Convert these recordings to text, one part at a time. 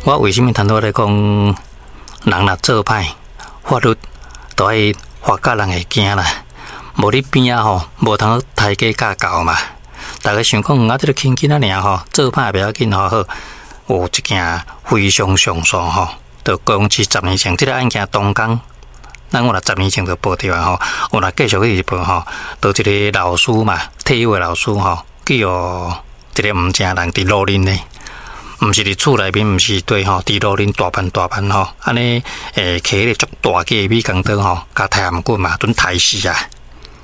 我為啥物頭拄咧講，人若做歹，法律都愛罰甲人會驚啦。無你邊仔吼，無通刣雞教狗嘛。逐家想講，啊，這個輕囡仔爾吼，做歹袂要緊吼，好有一件非常上訴吼，就講是十年前這個案件當工，咱我若十年前就報著啊吼，我若繼續去報吼，就一個老師嘛，退休的老師吼，去予一個毋正人佇路面呢。毋是佇厝內面，毋是對吼，佇路面大範大範吼，按呢揢彼個足大支的美工刀吼，共刣頷骨嘛，準刣死啊！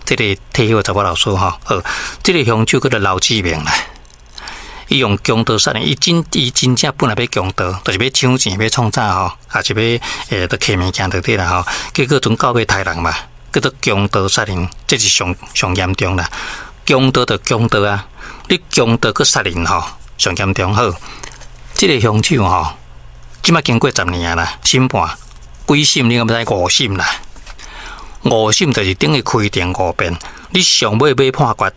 這個退休的查某老師吼，好，這個兇手叫做劉志明啦。伊用強盜殺人，伊真正本來欲強盜，就是欲搶錢、欲創啥吼，抑是欲佇揢物件就對啦吼。結果陣到尾刣人嘛，叫做強盜殺人，這是上上嚴重啦。強盜就強盜啊，你強盜閣殺人吼，上嚴重好。這個兇手吼，這馬經過十年啊啦，審判幾審你敢欲知？五審啦，五審就是等於開庭五遍，你上尾欲判決，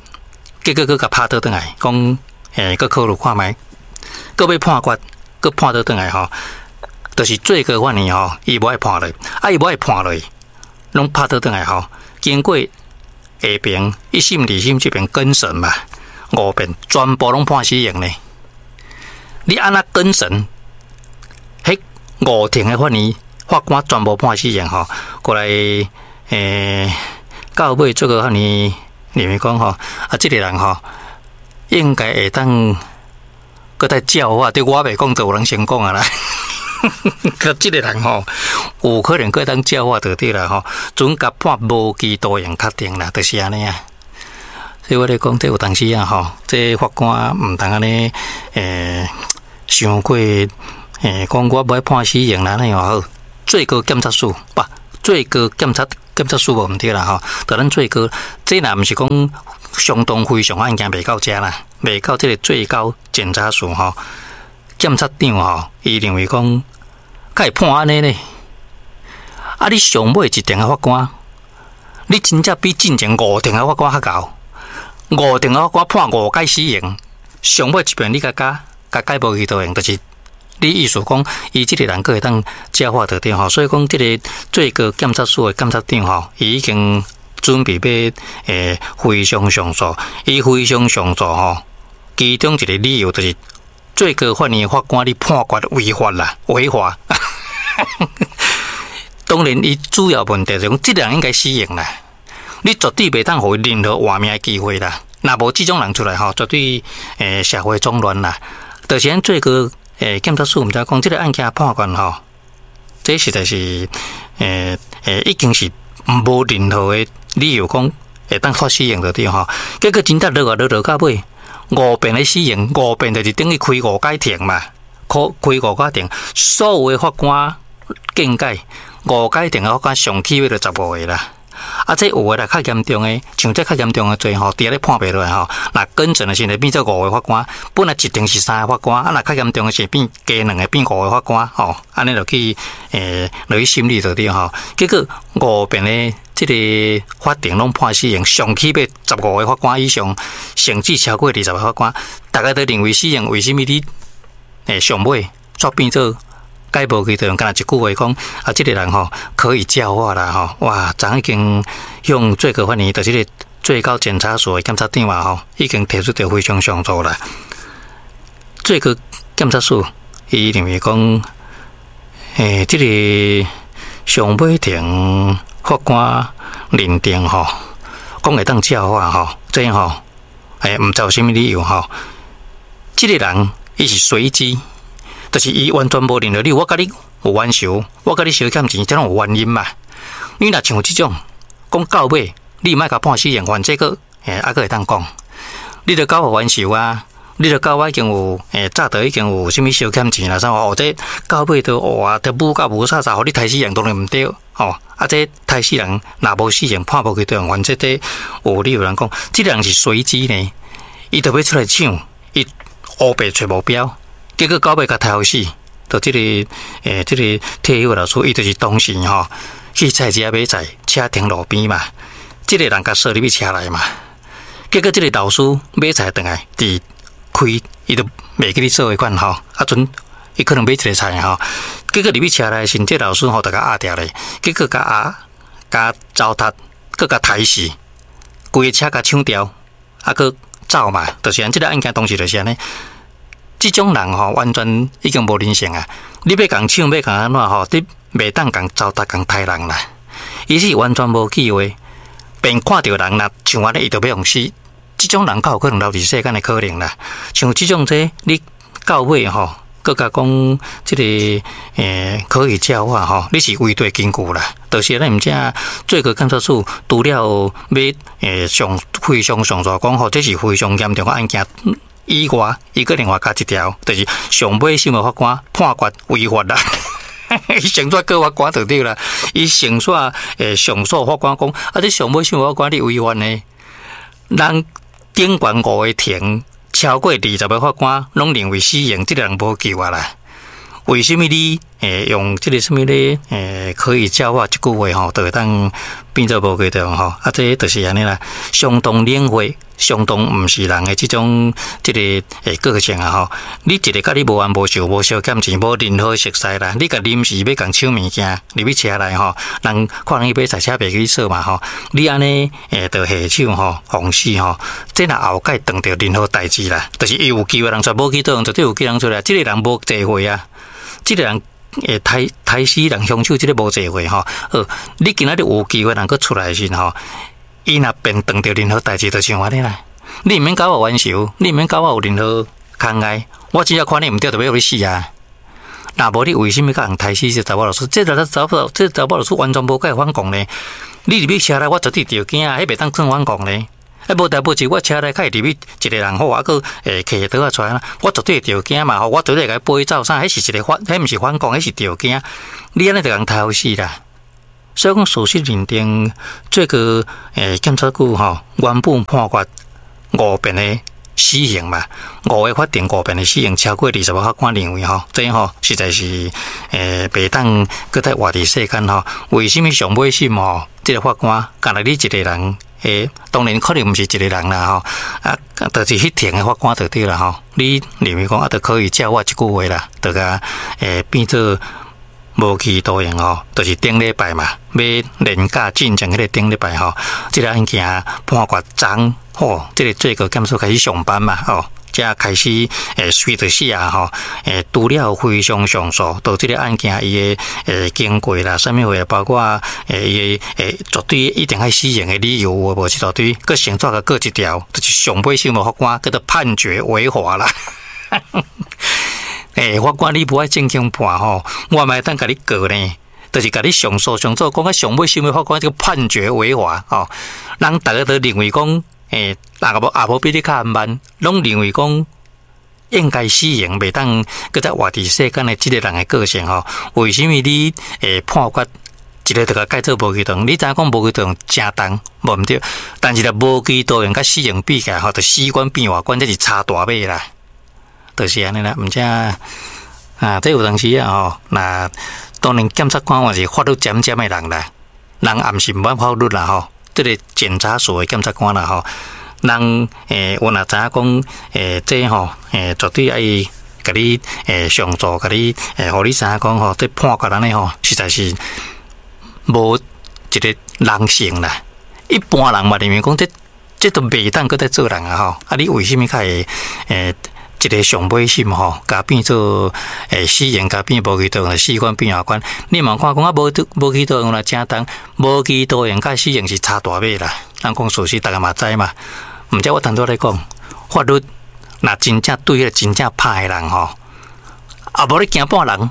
結果閣共拍倒轉來，講閣考慮看覓，閣欲判決，閣判倒轉來吼，就是最高法院吼，伊無愛判落，啊伊無愛判落，攏拍倒轉來吼，經過下爿一審、二審這邊更審嘛，五遍全部攏判死刑呢。你按怎更審？彼五庭的法院法官全部判死刑吼，過來到尾最高法院認為講吼，啊，這個人吼應該會當閣再教化，對我袂講，就有人先講啊啦。這個人吼，有可能閣當教化就對啦吼，準共判無期徒刑確定啦，就是按呢啊。所以我咧講，這有當時啊吼，這法官毋通按呢，傷過講我無愛判死刑啦，按呢好。最高檢察署不，最高檢察署無毋對啦吼，就咱最高，這若毋是講相當非常案件袂到遮啦，袂到這個最高檢察署吼，檢察長吼，伊認為講，敢會判按呢呢？啊，你上尾一庭的法官，你真正比進前五庭的法官較𠢕。五庭的法官判五擺死刑，上尾一遍你共加，共改無期徒刑，就是你意思講，伊這個人閣會當教化就對吼，所以講這個最高檢察署的檢察長吼，伊已經準備欲非常上訴，伊非常上訴吼，其中一個理由就是最高法院法官你判決違法啦，違法。當然，伊主要問題就是講，這個人應該死刑啦。你絕對袂當予伊任何活命的機會啦！若無這種人出來吼，絕對社會總亂啦。就是咱最高檢察署毋知講，這個案件判決吼，這實在是已經是無任何的理由講會當判死刑就對吼。結果真正落啊落落到尾，五遍的死刑，五遍就是等於開五擺庭嘛，開開五擺庭，所有的法官見解，五擺庭的法官上起碼就15個啦。啊，這有的啦，較嚴重的，像這較嚴重的罪吼，佇遐咧判袂落來吼，若更審的時陣變做五個法官，本來一庭是三個法官，啊，若較嚴重的時變加兩個，變五個法官吼，按呢就去落去審理就對吼。結果五遍的這個法庭攏判死刑，上起碼十五個法官以上，甚至超過20個法官，逐家都認為死刑，為啥物你上尾煞變做？改無期徒刑，干焦一句話講，啊，這個人吼可以教化啦吼，哇，昨已經向最高法院，就是這個最高檢察署的檢察長啊吼，已經提出著非常上訴啦。最高檢察署伊認為講，這個上尾庭法官認定吼，講會當教化吼，這吼，毋知有啥物理由吼，這個人伊是隨機。就是伊完全無任何理由，我共你有冤仇，我共你相欠錢，這攏有原因嘛。你若像這種講到尾，你莫共判死刑，反正閣還閣會當講，你著佮我冤仇啊，你著佮我已經有早就已經有啥物相欠錢啦，啥哦，這到尾都哇，都武甲無啥啥，予你刣死人當然毋對吼。啊，這刣死人若無死刑判無期徒刑，反正這有理由人講，這個人是隨機呢，伊著欲出來搶，伊烏白揣目標。結果到尾共刣予死，就這個這個退休老師，伊就是當時吼去菜市仔買菜，車停路邊嘛，這個人共鎖入去車內嘛。結果這個老師買菜轉來，佇開，伊就袂記咧做彼款吼，啊，陣伊可能買一个菜吼，結果入去車內時，這老師吼就共壓著咧，結果共壓、共糟蹋，閣共刣死，規个車共搶掉，啊，閣走嘛，就是按這个案件當時就是按呢。這種人吼，完全已經無人性啊！你欲共搶，欲共按怎吼，你袂當共糟蹋、共刣人啦。伊是完全無機會，便看著人若像按呢，伊就欲予死。這種人較有可能留佇世間的可能啦。像這種這，你到尾吼，閣共講這个可以教化吼，你是違對根據啦。就是咱毋知最高檢察署除了欲上非常上訴講吼，這是非常嚴重的案件以外，伊閣另外加一條，就是上尾審的法官判決違法啦。伊先煞告法官就對啦，伊先煞上訴法官講，啊，這上尾審法官你違法呢？人頂懸五個庭，超過20個法官攏認為死刑，這个人無救啊啦。為什麼你用這个什麼咧可以教化這句話吼，就會當變做無期徒刑吼？啊，這就是按呢啦，相當冷血，相當毋是人的這種這个個性啊吼。你一个佮你無冤無仇、無相欠錢、無任何熟似啦，你共臨時欲共搶物件入去車內吼，人看人去買菜車袂記去鎖嘛吼，你按呢就下手吼，予死吼，這若後蓋當著任何代誌啦，就是伊有機會人出來，無期徒刑絕對有機會人出來，這个人無罪過啊。這个人刣刣死人兇手，這个無罪過吼。好，你今仔日有機會人閣出來時吼，伊若變當著任何代誌，就像按呢啦。你毋免佮我冤仇，你毋免佮我有任何牽礙，我只要看你毋對，就欲予你死啊！若無你為什麼共人刣死這查某老師？這個查某這查某老師完全無共伊反抗呢？你入去車內，我絕對著驚啊！彼袂當算反抗呢？啊，無代無誌，我車內較會入去一个人好，啊，閣提刀仔出來，我絕對會著驚嘛吼！我絕對會共伊飛走啥？彼是一个反，彼毋是反抗，彼是著驚。你按呢就共刣死啦！所以講事實認定，最高檢察局吼原本判決五遍的死刑嘛，五个法庭五遍的死刑，超過20個法官認為吼，這吼實在是袂當閣再活佇世間吼。為什麼上尾審吼？這个法官干焦你一个人？當然可能毋是一个人啦吼，啊，就是彼庭的法官就對啦吼。你認為講啊，就可以教化這句話啦，就共變做無期徒刑吼，就是頂禮拜嘛，欲連假進前彼个頂禮拜吼，這个案件判決昨吼，這个最高檢署開始上班嘛吼。才開始隨著寫吼，除了非常上訴，到這个案件伊的經過啦，啥物貨，包括伊的絕對一定愛死刑的理由有無？一大堆，閣先煞共閣一條，就是上尾審的法官叫做判決違法啦。法官你無愛正經判吼，我嘛會當共你告呢，就是共你上訴上訴，講啊上尾審的法官這个判決違法吼，人逐个都認為講。若無也無比你較慢，攏認為講應該死刑，袂當閣再活佇世間的這个人的個性吼。為什麼你判決一个就共改做無期徒刑？你知影講無期徒刑誠重，無毋對，但是若無期徒刑佮死刑比起來吼，就死懸變活懸，這是差大碼啦。就是按呢啦，毋知啊，這有當時啊吼，若當然檢察官嘛是法律尖尖的人啦，人也毋是毋捌法律啦吼。這个檢察署的檢察官啦吼，人有若知影講這吼絕對愛共你上訴，共你予你知影講吼，這判決按呢吼，實在是無一个人性啦。一般人嘛認為講這這都袂當閣再做人啊吼！啊，你為什麼較會一个上尾審吼，共變做死刑，共變無期徒刑，死懸變活懸？你嘛看講啊，無無期徒刑若誠重，無期徒刑佮死刑是差大碼啦。咱講事實，逐个嘛知嘛。毋知我頭拄仔咧講，法律若真正對彼个真正歹的人吼，啊無咧驚半人，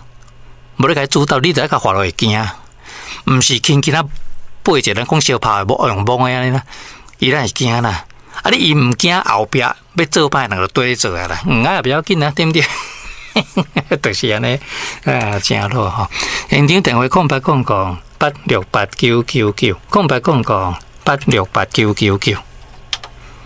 無咧共伊主導，你就愛共法律會驚，毋是輕輕仔背一个人講相拍的，無用摸的按呢啦，伊咱會驚啦。啊！你伊毋驚後壁欲做歹人就對你做啊啦，啊也不要緊啊，對毋對？就是按呢啊，誠好吼。現場電話0800868999，0800868999。